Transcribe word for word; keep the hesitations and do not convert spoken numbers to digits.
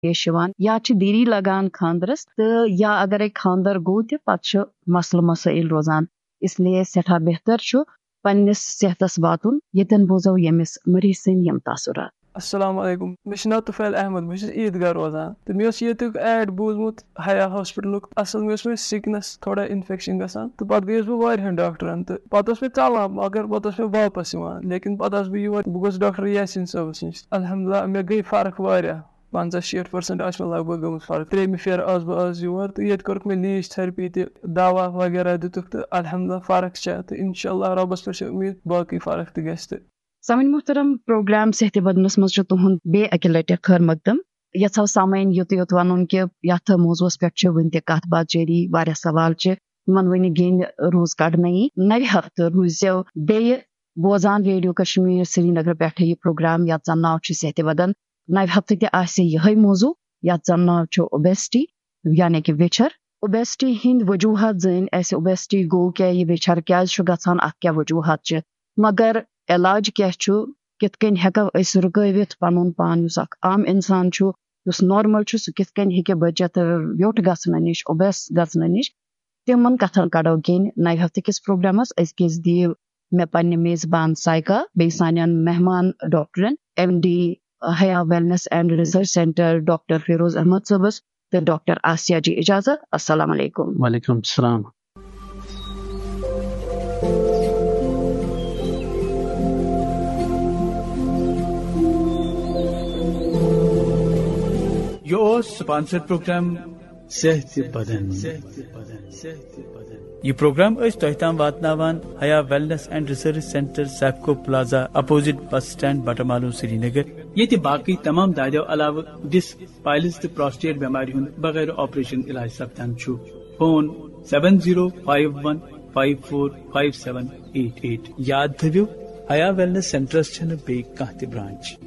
پیش یِوان، یا چھِ دیری لگان خانٛدرس، تہٕ یا اگرے خانٛدر گوٚو تہِ، پتہٕ چھُ مسلہٕ مسٲیل روزان۔ اس لیے سٮ۪ٹھاہ بہتر چھُ پننِس صحتس واتُن، ییٚتٮ۪ن بوزو ییٚمِس مریض سٕنٛدۍ یِم تاثرات۔ السلام علیکم، مےٚ چھُ ناو طفیل احمد، بہٕ چھُس عیٖدگاہ روزان، تہٕ مےٚ اوس ییٚتیُک ایڈ بوٗزمُت حیا ہاسپٹلُک۔ اصل مےٚ اوس وۄنۍ سِکنس تھوڑا انفیکشن گژھان، تہٕ پتہٕ گٔیَس بہٕ واریاہن ڈاکٹرن، تہٕ پتہٕ اوس مےٚ ژلان، مگر پتہٕ اوس مےٚ واپس یِوان۔ لیکن پتہٕ آس بہٕ یور، بہٕ گوس ڈاکٹر یاسین صٲبس نِش۔ الحمدللہ، مےٚ گٔے فرق واریاہ، پنژاہ شیٹھ پٔرسنٹ آسہِ مےٚ لگ بگ گٔمٕژ فرق۔ ترٛیٚیمہِ پھیرٕ آس بہٕ آز یور، تہٕ ییٚتہِ کوٚرُکھ مےٚ لیٖچ تھرپی تہِ، دوا وغیرہ دِتُکھ، تہٕ الحمدللہ فرق چھےٚ، تہٕ انشاءاللہ رۄبس پٮ۪ٹھ چھِ امید باقٕے فرق تہِ گژھِ تہٕ۔ سامعین محترم، پروگرام صحت بدنس منٛز چھُ تُہُنٛد بیٚیہِ اَکہِ لٹہِ خٲر مقدم۔ یژھو سامعین یُتُے یوت ونُن کہِ یتھ موضوعس پٮ۪ٹھ چھِ وُنہِ تہِ کتھ باتھ جٲری، واریاہ سوال چھِ، یِمن وُنہِ گیٚنۍ روٗز کڑنَے۔ نوِ ہفتہٕ روٗزِو بیٚیہِ بوزان ریڈیو کشمیر سرینگر پٮ۪ٹھٕ یہِ پروگرام، یتھ زن ناو چھُ صحت بدن۔ نوِ ہفتہٕ تہِ آسہِ یِہوٚے موضوع، یتھ زن ناو چھُ اوبیسٹی، یعنی کہِ ویچھر۔ اوبیسٹی ہٕنٛدۍ وجوہات زٲنۍ اَسہِ، اوبیسٹی گوٚو کیٛاہ، یہِ ویچھر کیٛازِ چھُ گژھان، اتھ کیٛاہ وجوہات چھِ۔ مگر علاج کیٛاہ چھُ، کِتھ کٔنۍ ہٮ۪کو أسۍ رُکٲوِتھ پنُن پان، یُس اکھ عام انسان چھُ، یُس نارمل چھُ، سُہ کِتھ کٔنۍ ہیٚکہِ بٔچِتھ ویوٚٹھ گژھنہٕ نِش، اوبیس گژھنہٕ نِش؟ تِمن کتھن کڑو گیٚنۍ نوِ ہفتہٕ کِس پروگرامس۔ أزکِس دِیِو مےٚ پننہِ میزبان سایکا، بیٚیہِ سانٮ۪ن مہمان ڈاکٹرن، M D Haya wellness and research centre doctor Feroz Ahmad صٲبس تہٕ ڈاکٹر آسیا جی اجازت۔ السلام علیکم۔ وعلیکم السلام۔ یہِ اوس سپانسر پروگرام صحت بدن۔ یہِ پروگرام ٲسۍ تۄہہِ تام واتناوان Haya wellness and research centre, Sipco plaza, opposite bus stand, Batmaloo, Srinagar. ییٚتہِ باقٕے تمام دادیو علاوٕ ڈسک، پائلز تہٕ پراسٹیٹ بٮ۪مارِ ہُنٛد بغٲر آپریشن علاج سپدان چھُ۔ Phone seven zero five one five four five seven eight eight. یاد تھٲوِو، حیا ویلنس سینٹرس چھنہٕ بیٚیہِ کانٛہہ تہِ برانچ۔